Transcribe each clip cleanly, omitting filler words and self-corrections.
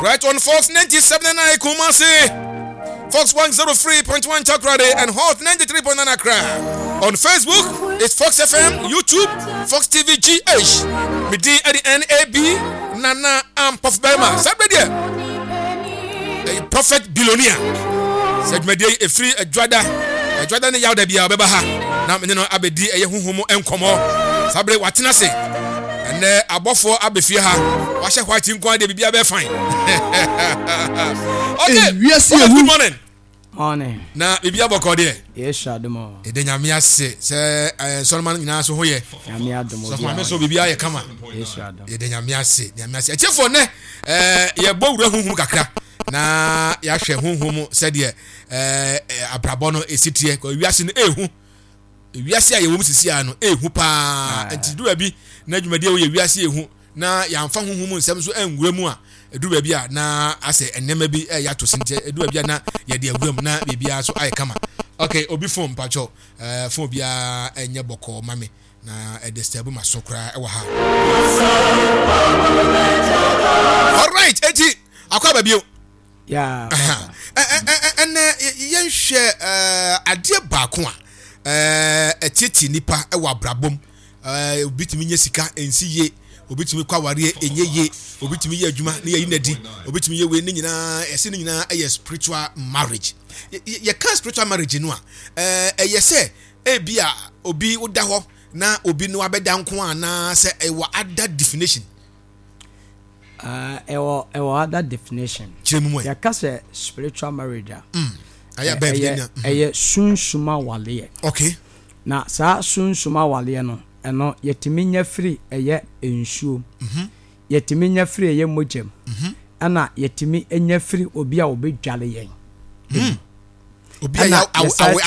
Right on Fox 97.9 Kumasi, Fox 103.1 Takoradi, and Hot 93.9 Accra. On Facebook, it's Fox FM, YouTube, Fox TV GH. Me din ɛde NAB Nana Ampɔf Bɛrima. Saa bere deɛ, ɛyɛ Prophet Billionaire. Sɛ dwumadie yi ɛfiri adwada, adwada ne yawda biara ɔbɛba ha na mene no abɛdi ɛyɛ huhu mu nkɔmmɔ. Saa bere watena ase. Ɛnɛ abɔfoɔ abɛfie ha. Wahyɛ white nko ara deɛ biribiara bɛyɛ fine. Okay, Ewiase ehu. good morning. Morning. Na biribi abɔkɔ deɛ. Yesu adom o. Yɛda Nyame ase sɛ eh, nsɔrɔma no nyinaa so ho yɛ. Nyame adom Sɔfo maame so biribi ayɛ kama. Yesu adom. Yɛda Nyame ase, Nyame ase. Atiefoɔ nnɛ eh, yɛbɔ wura honhom kakra na yɛahwɛ honhom mu sɛdeɛ eh, eh, abrabɔ no ɛsi teɛ. Kɔ wiase no ɛɛhu. Wiase a yɛwɔ mu sisi a no ɛɛhu paa. Nti duru baabi na dwumadie a wɔyɛ wiase ɛɛhu na yɛamfa honhom mu nsɛm nso anwura mu a, ɛduru baabi a na asɛ nneɛma bi ɛyɛ ato sin nti ɛduru baabi a na yɛde awura mu na biribiara nso ayɛ kama. Okay, obi phone mpakyɛw, eh, phone biara ɛnyɛ bɔkɔɔ ma me na ɛdisturb ma so koraa ɛwɔ ha. Alright, eti akɔ aba bio. Yeah. Ɛnɛ yɛnhwɛ adeɛ baako a ɛtietie nipa wɔ abrabɔ mu. Obi tumi nya sika ɛnsi yie, obi tumi kɔ awareɛ ɛnyɛ yie, obi tumi yɛ adwuma ne yɛyi n'adi, obi tumi yɛ wei ne nyinaa ɛsɛ ne nyinaa ɛyɛ spiritual marriage. Yɛka spiritual marriage no a ɛyɛ sɛ ebi a obi woda hɔ na obi no abɛda nko anaa sɛ ɛwɔ other definition. Ɛwɔ ɛwɔ other definition. Kyerɛ mu mu ɛ. Yɛka sɛ spiritual marriage a. Mm. Ayɛ abɛn ɛyɛ mm. ɛyɛ sunsum awaleɛ. Okay. Na saa sunsum awaleɛ no ɛno yɛtumi nya firi ɛyɛ nsuo. Mm -hmm. Yɛtumi nya firi ɛyɛ mogya mu. Mm -hmm. Ɛna yɛtumi nya firi obi a ɔbɛdwale yɛn. Mm. Obi a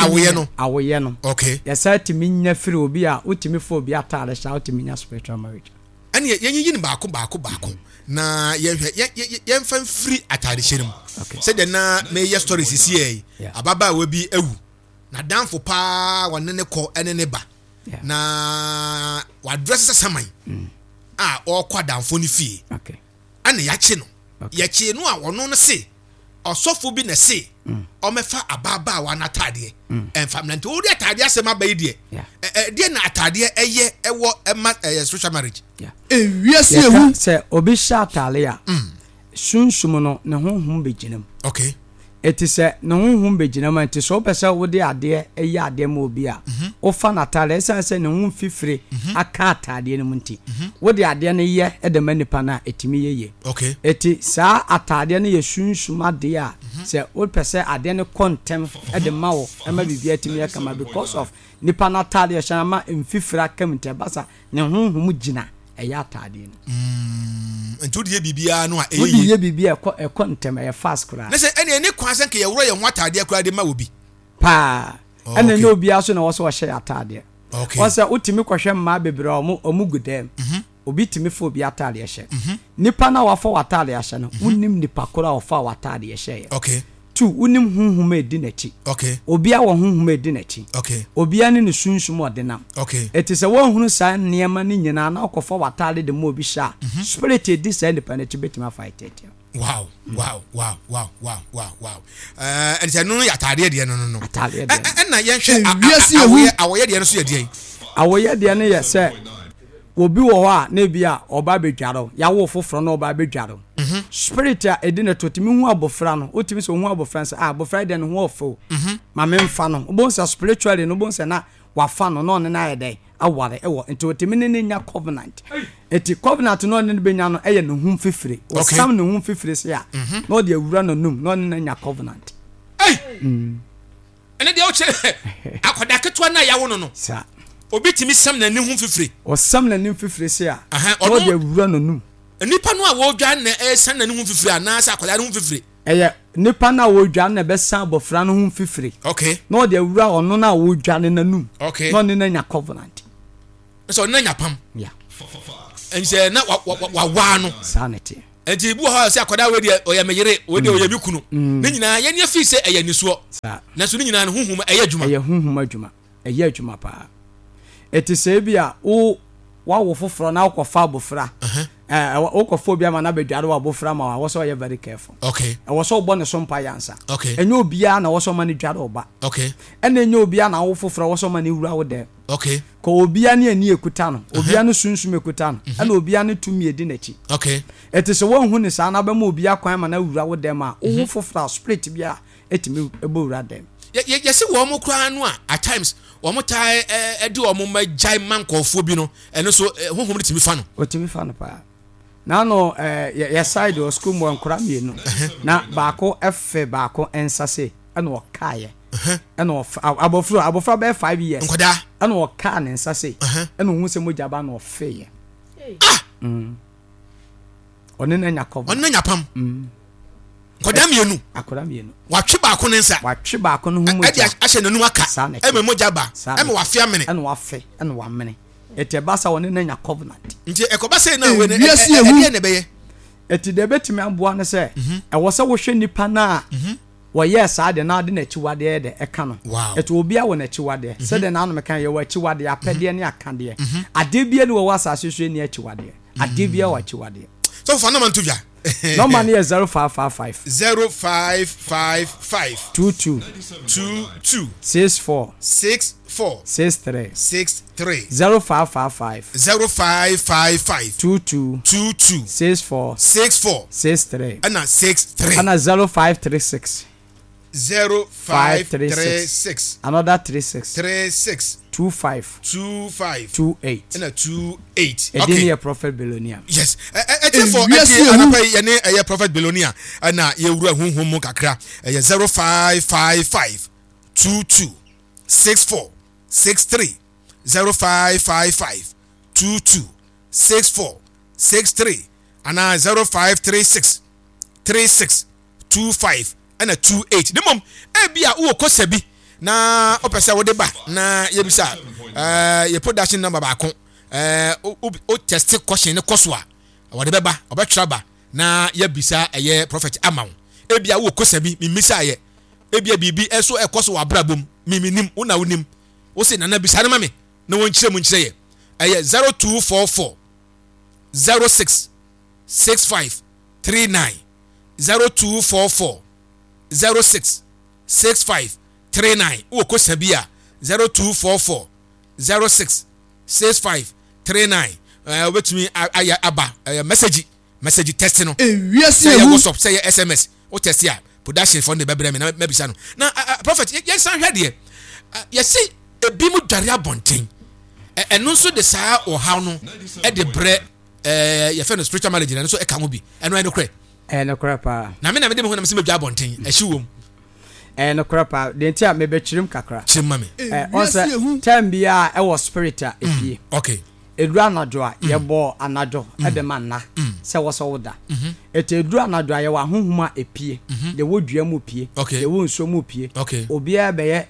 awoyɛ no. Awoyɛ no. Okay. Yɛsan tumi nya firi obi a wotumi fa obi ataade hyɛ a wotumi nya spiritual marriage. Ɛneɛ yɛnyiyi no baako baako baako na yɛnhwɛ yɛmfa mfiri ataadehyɛ no mu sɛdeɛ na meyɛ story sisi yɛ yi ababaawa bi awu n'adamfo paa wɔne ne kɔ ɛne ne ba na wadrɛse sɛ saman mm. a ɔrekɔ adamfo no fie ɛna yɛakye no yɛkye no a ɔno no se ɔsɔfo bi na se ɔmɛfa ababaawa no ataadeɛ ɛnfa mmerɛ nti wode ataadeɛ asɛm aba yi deɛ ɛdeɛ na ataadeɛ ɛyɛ ɛwɔ ɛma ɛyɛ social marriage. Ewiase ehu. Sɛ obi hyɛ ataade a mm. sunsum no ne honhom bɛgyina mu. Okay. Eti sɛ ne honhom bɛgyina mu a nti sɛ wopɛ sɛ wode adeɛ yɛ adeɛ ma obi a, mhm. wofa n'atadeɛ ɛsiane sɛ ne ho mfifire mhm. aka ataadeɛ no mu nti, mhm. wode adeɛ no yɛ de ma nipa no a ɛtumi yɛ yie. Okay. Eti saa ataadeɛ no yɛ sunsum adeɛ a sɛ wopɛ sɛ adeɛ no kɔ ntɛm de ma wo ɛma biribi atumi yɛ kama because of nipa no ataadeɛ hyɛ ama mfifire aka mu nti ɛba sa Ne honhom gyina ɛyɛ ataadeɛ no. Mm, nti wode yɛ biribiara no a ɛyɛ Wode yie. yɛ biribi a ɛkɔ ɛkɔ ntɛm, ɛyɛ fast koraa. Ne sɛ ɛne ɛne kwan sɛ nka yɛworɔ yɛn ho ataadeɛ koraa de ma obi. Paa. Oh, Ɛna okay. ɛnyɛ obiara so na ɛwɔ sɛ ɔhyɛ yɛ ataadeɛ. Okay. Wɔn sɛ wotumi kɔhwɛ mmaa bebree a wɔn wɔn gu dɛm. Mhm. Obi tumi fa obi ataadeɛ hyɛ. Nipa no a wafa w'ataadeɛ ahyɛ no, wonnim nipa koro a ɔfaa w'ataadeɛ hyɛeɛ. Okay. Tu, wonim honhom a edi n'akyi. Okay. Obiara wɔ honhom a edi n'akyi. Okay. Obiara ne ne sunsum a ɔde nam. Okay. Eti sɛ woanhunu saa nneɛma no nyinaa na wokɔfa w'ataade de ma obi hyɛ a, mm-hmm. spirit a edi saa nipa no akyi betumi afa atiatia. Wow, wow, wow, wow, wow, wow, wow. Eh, ɛnti ɛno no yɛ ataadeɛ deɛ no no no. Ataadeɛ deɛ. Ɛna yɛnhwɛ awɔyɛ awɔyɛ deɛ no so yɛ deɛ. Awɔyɛ deɛ no yɛ sɛ Obi wɔ hɔ a na ebi a ɔba abɛdware wo, yɛawo foforɔ na ɔba abɛdware wo. Mhm. Spirit a ɛdi ne to tumi hu abɔfra no, wotumi sɛ ohu abɔfra no sɛ ah abɔfra yi deɛ ne ho ɔfɛ o, mhm. ma memfa no. Wobɛhu sɛ spiritually no wobɛhu sɛ na wafa no na ɔne no ayɛ dɛn aware ɛwɔ nti otumi ne no nya covenant. Nti covenant no ɔne no bɛnya no ɛyɛ ne ho mfifire. Ɔsam ne ho mfifire se a mhm. na ɔde awura n'anum na ɔne no anya covenant. Hey! Mm. Ɛnɛ deɛ wokyerɛ akwadaa ketewa no a yɛawo no no, obi tumi sam n'ani ho mfifire. Ɔsam n'ani mfifire se a, na ɔde awura n'anum. Nipa no a wɔredwa na ɛresan n'ani ho mfifire anaasɛ akwadaa no ho mfifire? Ɛyɛ nipa no a wɔredwa no na ɛbɛsan abɔfra no ho mfifire. Okay. Na ɔde awura ɔno no a wɔredwa no n'anum. Okay. Na ɔne no anya covenant. Sɛ ɔne no anya pam. Yeah. Ɛnsɛ na wawaa no. Saa na ɛteɛ. Nti ebi wɔ hɔ a sɛ akwadaa wei deɛ ɔyɛ me yere, wei deɛ ɔyɛ me kunu. Mm. Ne nyinaa yɛn ani fi sɛ ɛyɛ nisuo. Nanso ne nyinaa no huhum ɛyɛ adwuma. Ɛyɛ huhum adwuma. Ɛyɛ adwuma paa. Ɛte sɛ ebi a wo Woawo foforɔ na wokɔfa abofra, ɛɛ wokɔfa obi ama no abɛdware w'abofra ma wo a, ɛwɔ sɛ ɔyɛ very careful. Okay. Ɛwɔ sɛ wobɔ ne so mpaeɛ ansa. Okay. Ɛnyɛ obiara na ɛwɔ sɛ ɔma no dware wo ba. Okay. Ɛna ɛnyɛ obiara na awo foforɔ ɛwɔ sɛ ɔma no wura wo dɛm. Okay. Kɔ obiara ne ani ekuta no, obiara ne sunsum ekuta no, ɛna obiara ne tumi edi n'akyi. Okay. Ɛte sɛ woanhu no saa na wobɛma obiara kwan ma no awura wo dɛm a, wowo foforɔ a spirit biara ɛtumi bɔ wura dɛm. Yɛ yɛ yɛsi wɔn koraa no a at times wɔn taa ɛ de wɔn mma gyae ma nkurɔfoɔ bi no ɛno nso honhom no tumi fa no. Ɔtumi fa no paa. N'ano ɛ yɛ yɛ side wɔ sukuu mu wɔ nkora mmienu na baako ɛfɛ baako nsa sei ɛna ɔkaeɛ ɛna ɔfɛ abɔfra abɔfra bɛyɛ 5 years. Nkwadaa. Ɛna ɔkaa ne nsa sei ɛna ohun sɛ mogya ba na ɔfeeɛ. Ah. Ɔne no anya covenant. Ɔne no anya pam. Nkwadaa mmienu. Akwadaa mmienu. Watwe baako ne nsa. Watwe baako no ho mogya. Ɛde ahyɛ n'anum aka. Saa na ɛte. Ɛma mogya ba. Saa na Ɛma wafe amene. Ɛna wafe ɛna wamene. Ɛti ɛba sa ɔne no anya covenant. Nti ɛkɔba sɛ na wei no Ewiase ehu. ɛdeɛ na ɛbɛyɛ. Ɛti deɛ ɛbɛtumi aboa no sɛ ɛwɔ sɛ wohwɛ nipa no a wɔyɛɛ saa deɛ na ade n'akyiwadeɛ yɛ dɛ ɛka no. Ɛti obiara wɔ n'akyiwadeɛ. Sɛdeɛ n'anom ka yɛwɔ akyiwadeɛ, apɛdeɛ ne akadeɛ. Adeɛ biara ni wɔ wɔ asase so ɛnni akyiwadeɛ. Adeɛ biara wɔ akyiwadeɛ. Sɔfo fa nɔma nto dwa. Nɔma no yɛ 0555. 0555. 22. 22. 64. 64. 63. 63. 0555. 0555. 22. 22. 64. 64. 63. Ɛna 63. Ɛna 0536. 0536. Another 36. 36. 25. 25. 28. Ɛna 28. Ɛdin okay. Yɛ Prophet Billionaire. Yes. Ɛtiɛ fɔ ɛti anapa yi yɛne ɛyɛ Prophet Billionaire ɛna yɛwura huhum mu kakra. Ɛyɛ 0555 22 64 63 0555 22 64 63 anaa 0536 36 25 ɛna 28. Ne mmom ebi a wowɔ kosa bi na wopɛ sɛ wode ba na yɛbisa ɛɛ yɛ production number baako ɛɛ wo test question ne kɔ so a wɔde bɛba ɔbɛtwerɛ ba na yɛbisa ɛyɛ prophet ama wo. Ebi a wowɔ kosa bi memmisa yɛ ebi a biribi ɛso ɛkɔ so wɔ abrabɔ mu miminim wo na wonim wo se nana bisa no ma me na wɔnkyerɛ mu nkyerɛ yɛ. Ɛyɛ 0244 06 65 39 0244 06 65 39. Wowɔ kosa bi a 0244 06 65 39 ɛɛ wobɛtumi ayɛ aba ɛyɛ message message test no. Ewiase sɛ yɛ ehu. WhatsApp sɛ yɛ SMS wo test a production fɔ no de bɛbrɛ me na mɛbisa no. Na prophet yɛnsan hwɛ deɛ yɛse ebi mu dware abɔnten ɛno nso de saa ɔhaw no de brɛ ɛɛ yɛfɛ no spiritual marriage na ɛno nso ɛka ho bi. Ɛno ɛyɛ nokorɛ? Ɛyɛ nokorɛ paa. Na me na mede me ho na mese mɛdwa abɔnten ɛhye wom. Ɛyɛ nokorɛ paa. Deɛ nti a mebɛkyerem kakra. Kyerem ma me. Ɛ ɔn sɛ term biara ɛwɔ spirit a epie. Okay. Ɛduru anadwo a yɛbɔ anadwo de ma nna sɛ wɔ sɛ woda. Ɛti ɛduru anadwo a yɛwɔ ahonhom a epie. Deɛ ɛwɔ dua mu pie. Deɛ ɛwɔ nsuo mu pie. Okay. Obiara bɛyɛ.